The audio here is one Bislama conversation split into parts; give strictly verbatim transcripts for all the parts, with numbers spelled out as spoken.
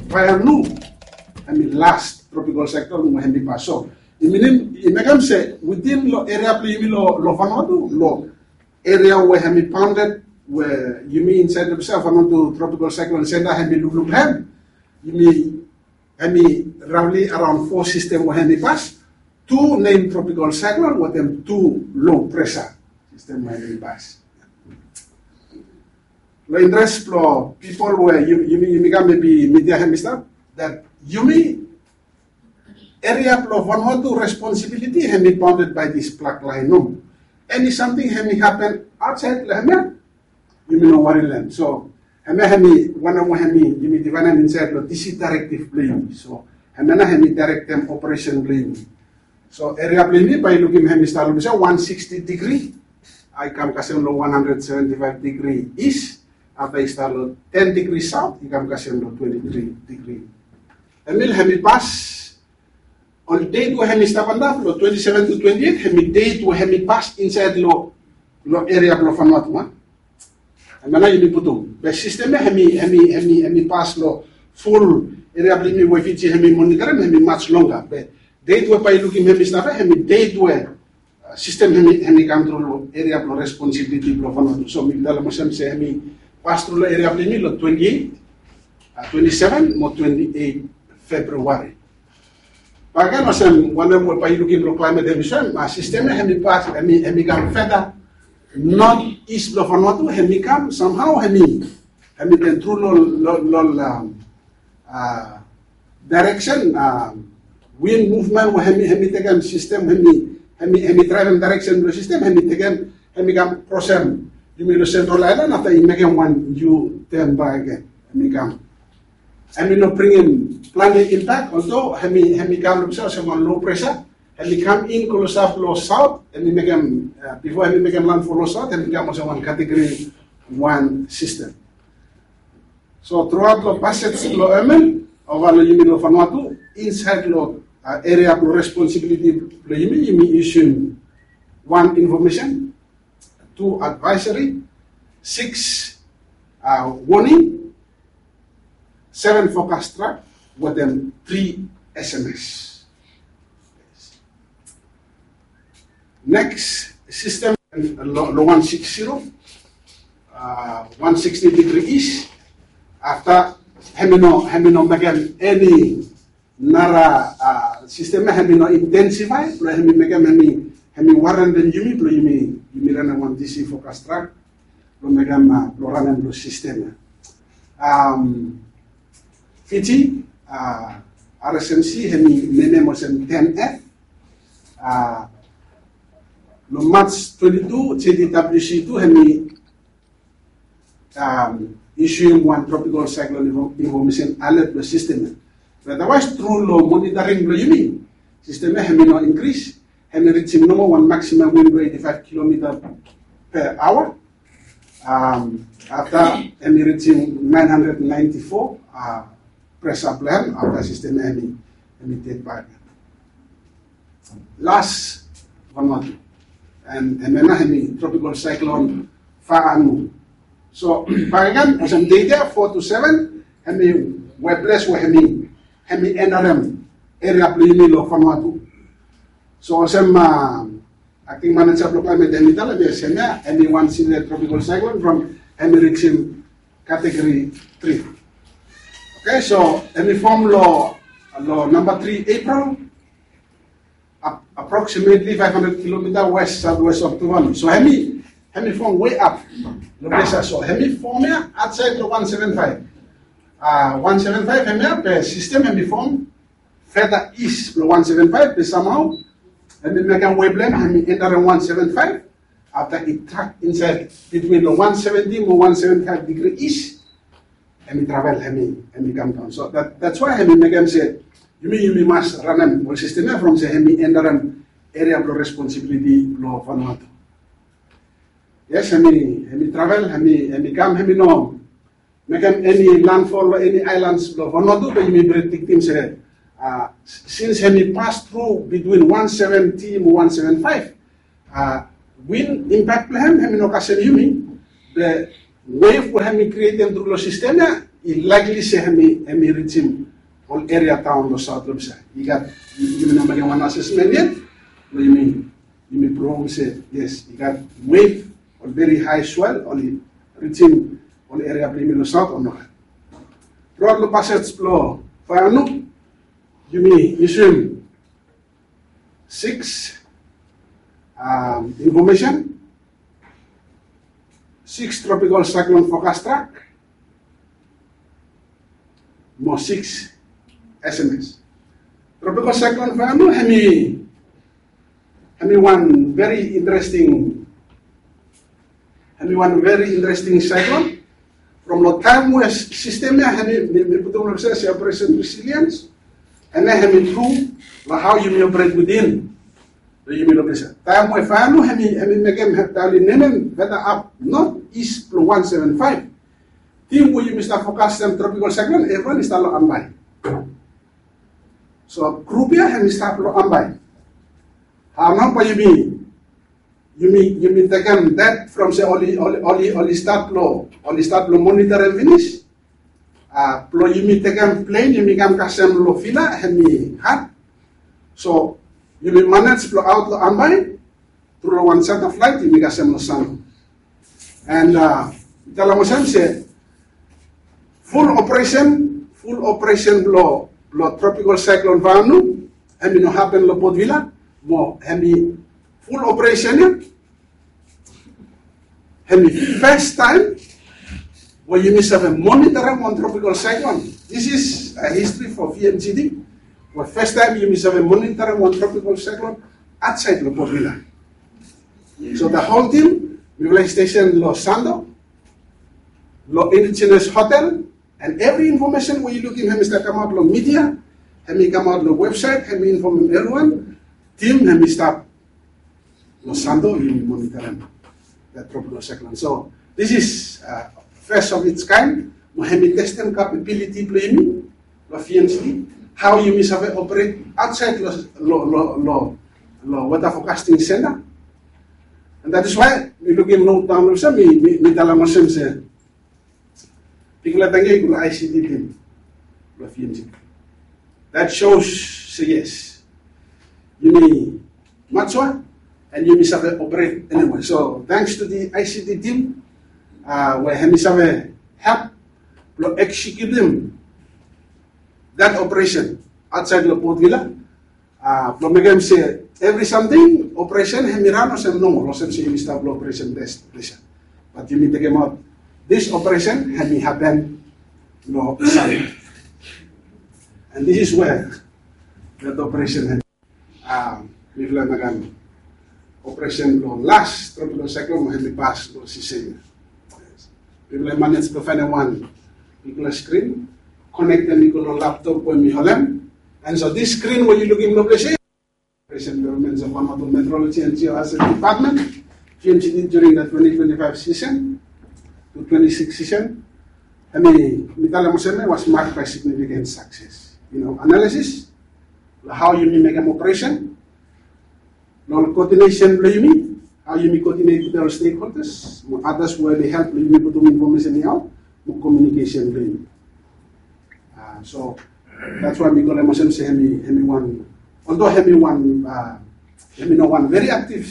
Fainu, hemi last tropical cyclone we hemi pas. So i minim, i mekem se within lo eria blo yumi lo, lo Vanuatu, lo eria we hemi bounded, we yumi insaed lo, be se Vanuatu Tropical Cyclone Center hemi lukluk lo hem, yumi, hemi roughly around four system we hemi pas. Tu nem tropical cyclone, wetem tu low pressure system we hemi pas. Lo interes blo pipol we yu, yumi, yumi kam, maybe media hemi stap, that yumi, eria blo Vanuatu responsibility hemi bounded by this black line nomo. Eni samting hemi hapen aotsaed lo hemia, yumi no wari lo hem. So hemia hemi wanem we hemi, yumi divaedem insaed lo D C directive blo yumi. So hemia nao hemi directem operation blo yumi. So eria blo yumi, bae yu lukim, hemi stat lo, be se, one sixty degree, a, i kam kasem lo one hundred seventy-five degree east. Afta i stat lo ten degree south, i kam kasem lo twenty-three degree. Hemi, hemi pas, on date we hemi stap antap lo twenty-seven to twenty-eight, hemi date we hemi pas insaed lo, lo eria blo Vanuatu, a. Hemia nao yumi putum. Be system ia hemi, hemi, hemi, hemi pas lo full eria blo yumi we Fiji hemi monitorem, hemi much longer. Be date we bae yu lukim hemi stap ia, hemi date we, a, system hemi, hemi kam tru lo eria blo responsibility blo Vanuatu. So mi talem olsem se hemi pas tru lo eria blo yumi lo twenty-eight, a, twenty-seven mo twenty-eight February. Bakegen olsem wanem we bae yu lukim lo climate hemi soem, a, system ia hemi pas, hemi, hemi kam further north east blo Vanuatu, hemi kam somehow hemi, hemi tun tru lo, lo, lo, a, a, direction, a, wind movement we hemi, hemi tekem system, hemi, hemi, hemi draevem direction blo system, hemi tekem, hemi kam krosem yumi lo Central Island, afta i mekem wan U-turn bakegen, hemi kam. Hemi no bringim plante impact, although hemi, hemi kam lo, be se, olsem wan low pressure, hemi kam in klosap lo south, hemi mekem, a, bifo hemi mekem landfall lo south, hemi kam olsem wan category one system. So throughout lo passage blo Irma ova lo yumi lo Vanuatu, insaed lo, a, eria blo responsibility blo yumi, yumi issuem wan information, tu advisory, six, a, warning, seven forecast track, wetem three S M S. Next system lo, lo one six zero, a, one sixty degree east. Afta hemi no, hemi no mekem eni nara, a, system ia hemi no intensify, blo hemi mekem, hemi, hemi warendem yumi blo yumi, yumi ranem wan D C forecast track blo mekem, a, blo ranem lo system ia. Am, Fiji, a, R S M C hemi menem olsem ten F. A, lo March twenty-two, J D W C tu hemi, am, issuem wan tropical cyclone info-, information alert lo system ia. Be otherwise, tru lo monitoring blo yumi, system ia hemi no increase, hemi rijim nomo wan maximum wind blo eighty-five kilometer per hour. Am, afta hemi rijim nine hundred ninety-four, a, pressure blo hem, afta system ia hemi, hemi ted bak. Last Vanuatu. An hemia nao hemi tropical cyclone Faanu. So bakegen, olsem date ia four to seven, hemi weples we hemi, hemi enterem eria blo yumi lo Vanuatu. So olsem, a, acting manager blo climate hemi talem, yes, hemia hemi wan severe tropical cyclone from hemi rijim category three. Okay, so hemi form lo, lo namba three April, ap-, approximately five hundred kilometer west southwest of Tuvalu. So hemi, hemi form way up lo ples ia. So hemi form ia aotsaed lo one seven five. A, one seven five hemia, be system hemi form further east lo one seven five, be somehow hemi mekem wave blo hem hemi enterem one seven five. Afta i track insaed between lo one seventy mo one seventy-five degree east, hemi travel, hemi, hemi kam daon. So that, that's why hemi mekem se yumi, yumi mas ranem ol system ia from se hemi enterem eria blo responsibility blo Vanuatu. Yes, hemi, hemi travel, hemi, hemi kam, hemi no mekem eni landfall lo eni islands blo Vanuatu, be yumi prediktem se, a, since hemi pas tru between one seventy mo one seven five, a, wind impact blo hem hemi no kasem yumi, be wave we hemi krietem tru lo system ia, I likely se hemi hemi rijim ol eria taon long saot long ples ia. I gat, yumi no mekem wan asesmen yet. Long yumi yumi provum se yes, i gat wave ol veri hae swel oli rijim ol eria blong yumi long saot o nogat. Truaot long pasej blong Vaianu yumi yusum six infomesen, six tropical cyclone forecast track mo six sms. Tropical cyclone Vaianu hemi hemi wan veri interesting hemi wan veri interesting cyclone. From long taem we sistem ia hemi mi putum long se operation resilience, hemi hemi tru long hao yumi operate within. Long yumi location taem we Vaianu hemi hemi mekem hemi tali nemem weta ap north east blong one seven five. Tim we yumi stap fokas long tropical cyclone evriwan i stap long Ambae. So grup ia hemi stap long Ambae. Hao nao bae yumi yumi yumi tekem that from se oli oli oli oli stap long oli stap long monitoring finis. Blong yumi tekem plen yumi kam kasem long Vila hemi had. So yumi manej blong aot long Ambae tru long wan charter flight yumi kasem long Santo. And mi talem olsem se ful operesen ful operesen blong blong tropical cyclone Vaianu hemi no hapen long Port Vila. Mo hemi ful operesen ia hemi fes taem we yumi save monitoring wan tropical cyclone. This is a history for V M G D we fes taem yumi save monitoring wan tropical cyclone aotsaed long Port Vila. So the whole team mifala i stesen long Santo long Indigenous Hotel. And evri infomesen we yu lukim hemi stap kamaot long media, hemi kamaot long websaet, hemi infomem evriwan. Tim hemi stap long Santo yumi monitoring that tropical cyclone. So this is fes of its kind. Mo hemi testem capability blong yumi long V M G D, hao yumi save operate aotsaed long long long long weather forecasting center. And that is why mi lukim note daon olsem mi mi talem olsem se bigfala tangkiu i go long I C T team blong V M G D. That shows se yes, yumi mature and yumi save operate anyway. So thanks to the I C T team we hemi save help blong executim that operation aotsaed long Port Vila. Blong mekem se evri samting operesen hemi ran olsem normal olsem se yumi stap long operesen bes. But yumi tekemaot this operesen hemi hapen long Santo. And this is where that operesen hemi mifala mekem operesen blong las tropical cyclone mo hemi pas long sisen ia. Mifala i manej blong faenem wan bigfala skrin konektem i go long laptop we mi holem. And so this screen we yu lukim long ples ia operation development of Vanuatu Meteorology and Geohazard Department, V M G D during the twenty twenty-five season to twenty-six season. Hemi mi talem olsem hemi was marked by significant success. You know, analysis long hao yumi mekem operesen, long coordination blong yumi, hao yumi coordinate with our stakeholders mo others we oli help long yumi putum infomesen ia aot, mo communication blong yumi. So that's why mi talem olsem se hemi hemi wan, although hemi wan hemi no wan very active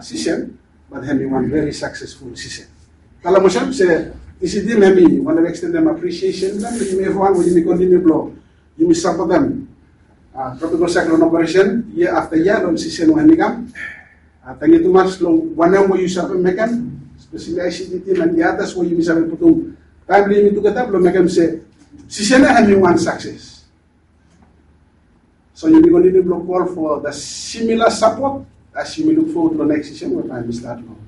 season, but hemi wan very successful season. Talem olsem se I C T team hemi wantem extendem appreciation blong yumi evriwan we yumi continue blong yumi sapotem tropical cyclone operation year after year long season we hemi kam. Tangkiu tumas long wanem we yu save mekem, especially I C T team and the others we yumi save putum taem blong yumi tugeta blong mekem se season ia hemi wan success. So yumi continue blong call for the similar support as yumi look forward long next season we bae hemi start long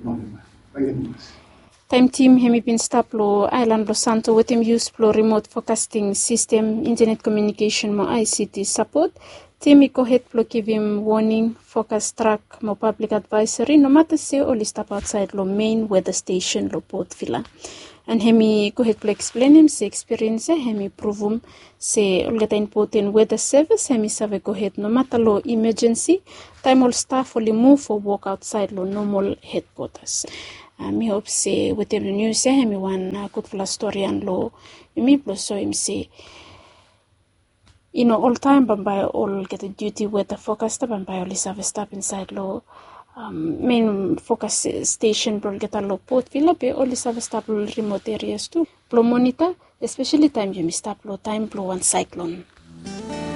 November. Tangkiu tumas. Taem tim hemi bin stap long aelan blong Santo wetem yus blong remote forecasting system, internet communication mo I C T support, tim i gohed blong givim warning, forecast track mo public advisory nomata se oli stap aotsaed long main weather station long Port Vila. And hemi gohed blong eksplenem se ekspiriens ia hemi pruvum se olgeta impoten weather service hemi save gohed nomata long emergency taem ol staff oli muv o wok aotsaed long normal headquarters. Mi hop se wetem nius ya hemi wan gudfala storian long yumi blong soim se i no oltaem bambae olgeta duti weta fokasta bambae oli save stap insaed long mein fokas stesen blong olgeta long potvila be oli save stap long rimot erias tu blong monita, espeseli taem yumi stap long taem blong wan saeklon.